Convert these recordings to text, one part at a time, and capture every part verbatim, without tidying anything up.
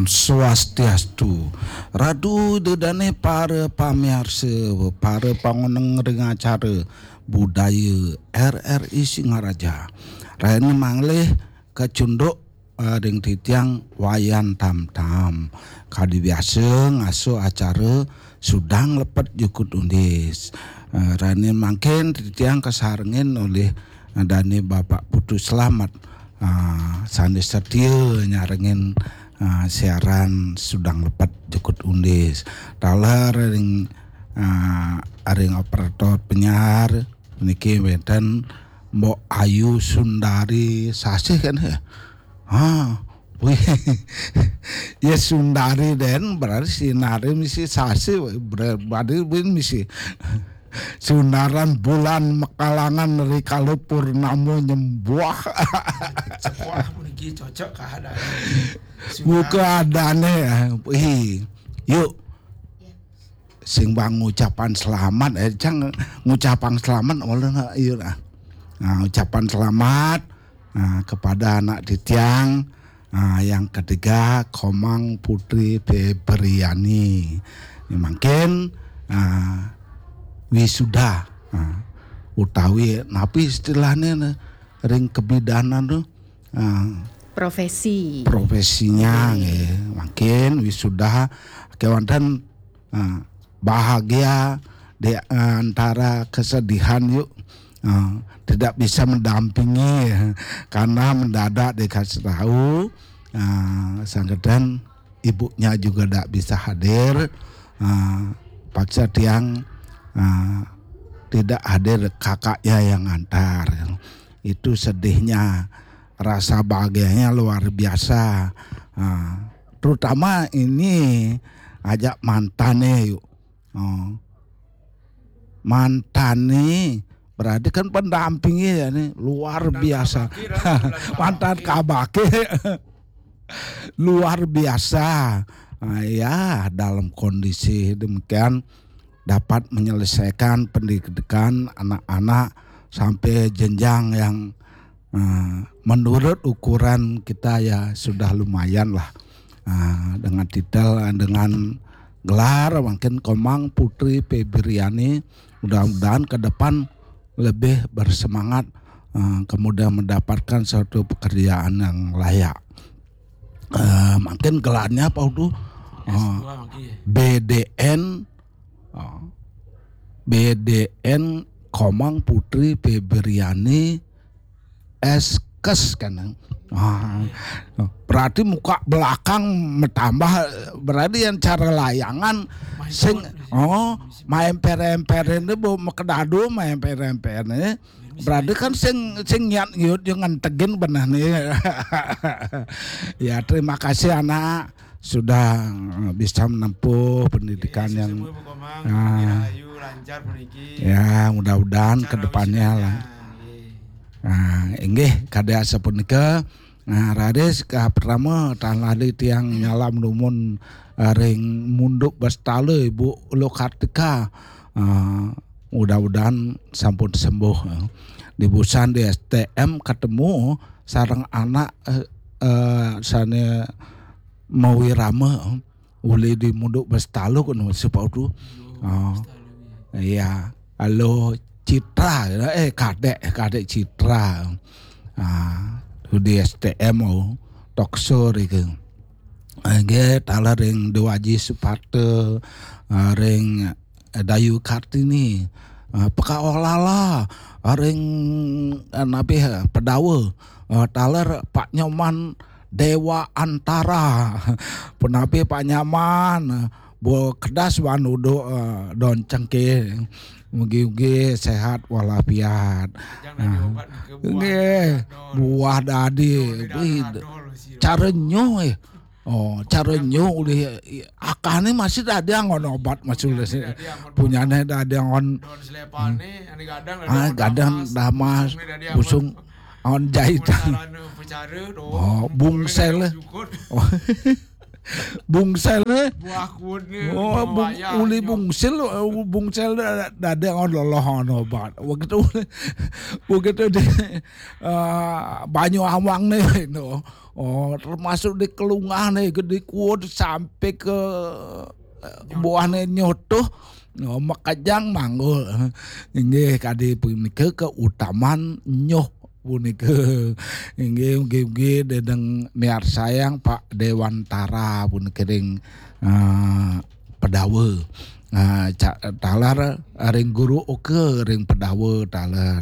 Swastiastu. Ratu dedane para pamiarsa, para pangoneng ring acara budaya R R I Singaraja. Rene manglih kacunduk, eh, ring titiang Wayan Tam Tam. Kadi biasa ngasuh acara sudang lepet jukut undis. Eh, rene mangkin titiang kasarengin olih, eh, dane Bapak Putu Slamet, ah, sane setia nyarengin, ah, siaran sudang lepet jukut undis. Taler ring, ah, ring operator penyiar niki wenten Mbok Ayu Sundari Sasih kan ya? Ah, wih. Ya Sundari den berarti Sinari misi Sasih, berarti misi Sundaran Bulan Makalangan Rikalu Purnamo Nyembuah. Sekolah puniki cocok keadaan. Buka adane ya. Ih, yuk. Sing bang ngucapan selamat, eh, cang ngucapan selamat, ulun, eh, iya, nah. Nah, ucapan selamat, nah, kepada anak titiang, nah, yang ketiga, Komang Putri Febriani. Ini mungkin, nah, wisuda, nah, utawi, napi istilahnya, nah, ring kebidanan tuh, nah, Profesi. Profesinya, nggih. Mungkin wisuda kewanten, eh, bahagia di antara kesedihan, yuk. Eh, tidak bisa mendampingi karena mendadak dikasih tahu, eh, sanggedan ibunya juga tidak bisa hadir. Eh, paksa tiang, eh, tidak hadir kakaknya yang antar. Itu sedihnya, rasa bahagianya luar biasa. Ah, terutama ini ajak mantane yuk. Oh. Mantane berarti kan pendampingnya ya nih luar biasa. Mantan kabake luar biasa. Ah, ya, dalam kondisi demikian dapat menyelesaikan pendidikan anak-anak sampai jenjang yang, eh, menurut ukuran kita ya sudah lumayan lah. Eh, dengan titel, eh, dengan gelar mungkin Komang Putri Febriani, mudah-mudahan ke depan lebih bersemangat, eh, kemudian mendapatkan suatu pekerjaan yang layak. Eh, mungkin gelarnya apa tuh? Eh, B D N, oh, B D N Komang Putri Febriani Eskes kan. Ah, berarti muka belakang bertambah, berarti yang cara layangan sing, oh, main peremperen itu bu makedadu main peremperen ini. Berarti kan sing, sing niat ngiut yang ngentegin benar nih. Ya, terima kasih anak sudah, eh, bisa menempuh pendidikan yang, ah, ya, mudah-mudahan ke depannya lah. Nah, inggih kadi asapunika. Nah, raris ka pertama tan lali tiang nyalam numun, eh, ring Munduk Bastala Ibu Lukartika. Eh, mudah-mudahan sampun sembuh, eh. Di busan di S T M ketemu sareng anak, eh, eh, sane mawirama, eh. Uli di Munduk Bastala kono sepaudu. Oh. Iya. Halo Citra, eh, Kadek, Kadek Citra. Ah, di S T M, oh, Toksur iku. Nggih, taler ring Dewaji Suparta, ah, ring, eh, Dayu Kartini, ah, Peka Olala, ah, ring, eh, napi, eh, Pedawa, ah, taler Pak Nyoman Dewa Antara, punapi Pak Nyaman, Bu Kedas wan uduh, eh, don cengkeh. Mugi-mugi sehat walafiat. Nggih, buah dadi. Wih, cara nyuh, eh. Oh, cara nyuh ulih akane masih dadi angon obat masih ulih. Punyane dadi angon. Ah, gadang damas, busung angon jahitan. Oh, bungsel. Oh. Bungsel ne. Buah kuda. Oh, bung, uli bungsel, eh, bungsel da- dada ngon loloh ono bat. Begitu, begitu di eh, banyu awang ne no. Oh, termasuk di kelungah ne gede kuat sampai ke eh, buah ne nyotoh. Oh, makajang manggul. Inggih kadi punika keutamaan nyoh punika. Inggih, inggih, inggih, dedeng miarsayang Pak Dewantara punika ring eh, Pedawa. Eh, ca- taler ring Guru Oka ring Pedawa taler.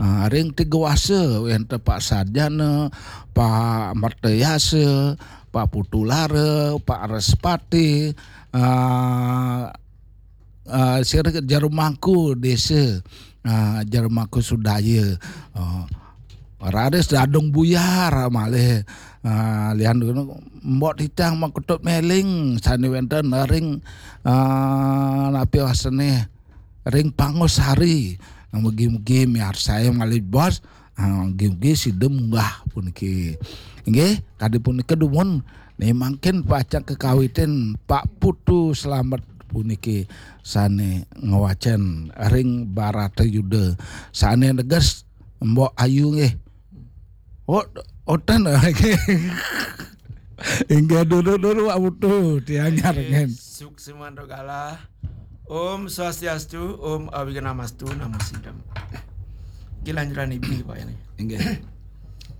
Eh, ring Tigawasa wenten Pak Sarjana, Pak Mertayasa, Pak Putulara, Pak Respati, eh, eh, sira Jerumangku Desa, eh, Jerumangku Sudaya. Eh, raris dadung buyar malih. Eh, lian Mbok Titang Makutut Meling sane wenten ring eh, napi wasane ring Pangosari. Mugi-mugi miarsaya malih bos. Ah, mugi-mugi sida munggah puniki. Inggih, kadi punika dumun ne mangkin pacang kekawitin Pak Putu Slamet puniki sane ngwacen ring Barata Yuda. Sane neges Mbok Ayu nggih. Oh, oten. Inggih dulu-dulu Pak Putu tiang nyarengen. Suksimanto galah. Om Swastiastu, Om Awighnamastu, Namo Siddham. Kilanjuran ibu Pak ini. Inggih.